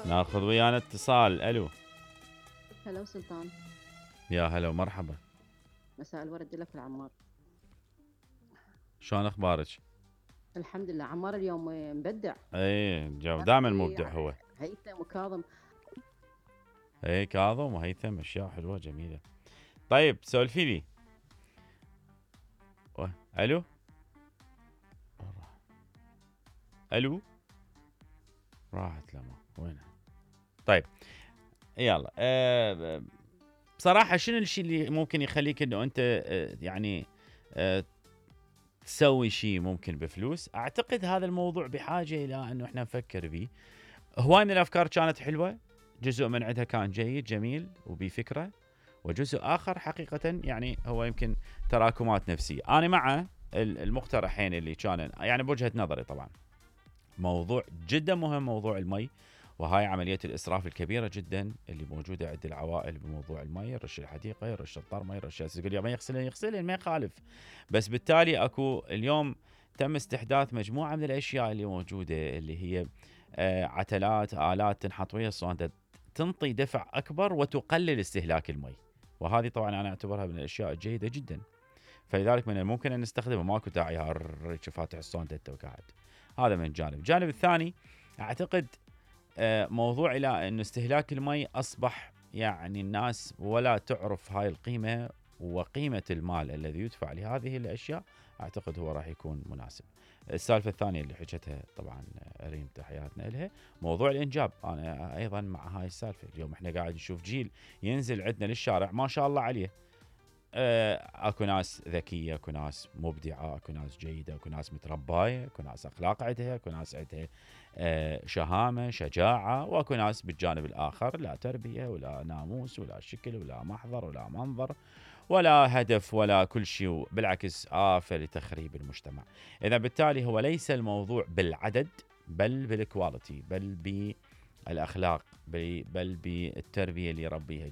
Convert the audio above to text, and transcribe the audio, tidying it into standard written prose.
ناخذ ويانا اتصال. الو. هلا سلطان. يا هلا ومرحبا. مساء الورد لك العمار. شلون اخبارك؟ الحمد لله. عمار اليوم مبدع. ايه جو دائما مبدع هو. هيثم وكاظم. ايه كاظم وهيثم اشياء حلوه جميله. طيب سولفي لي. الو. الو. راحت لما وينها؟ طيب يلا. بصراحه شنو الشيء اللي ممكن يخليك انه انت يعني تسوي شيء ممكن بفلوس؟ اعتقد هذا الموضوع بحاجه الى انه احنا نفكر به. هواي من الافكار كانت حلوه، جزء من عندها كان جيد جميل وبفكره، وجزء اخر حقيقه يعني هو يمكن تراكمات نفسيه. انا مع المقترحين اللي كان يعني بوجهه نظري طبعا. موضوع جدا مهم موضوع المي، وهاي عملية الإسراف الكبيرة جدا اللي موجودة عند العوائل بموضوع المي. يرش الحديقة، يرش الطرمة، يرش يقول يا ما يغسلن ما يخالف. بس بالتالي أكو اليوم تم استحداث مجموعة من الأشياء اللي موجودة اللي هي عتلات آلات تنحط ويا الصوندة تنطي دفع أكبر وتقلل استهلاك المي، وهذه طبعا أنا أعتبرها من الأشياء الجيدة جدا. فلذلك من الممكن أن نستخدمها، ماكو داعي فاتح الصوندة وقاعد. هذا من جانب. الجانب الثاني أعتقد موضوع إلى أن استهلاك المي أصبح يعني الناس ولا تعرف هاي القيمة وقيمة المال الذي يدفع لهذه الأشياء. أعتقد هو راح يكون مناسب. السالفة الثانية اللي حكتها طبعا ريم تحياتنا لها، موضوع الإنجاب. أنا أيضا مع هاي السالفة. اليوم إحنا قاعد نشوف جيل ينزل عندنا للشارع ما شاء الله عليه. اكو ناس ذكيه، اكو ناس مبدعه، اكو ناس جيده، اكو ناس متربايه، اكو ناس اخلاق عندها، اكو ناس عندها شهامه شجاعه، واكو ناس بالجانب الاخر لا تربيه ولا ناموس ولا شكل ولا محضر ولا منظر ولا هدف ولا كل شيء، بالعكس آفة لتخريب المجتمع. اذا بالتالي هو ليس الموضوع بالعدد بل بالكواليتي، بل بالاخلاق، بل بالتربيه اللي يربيها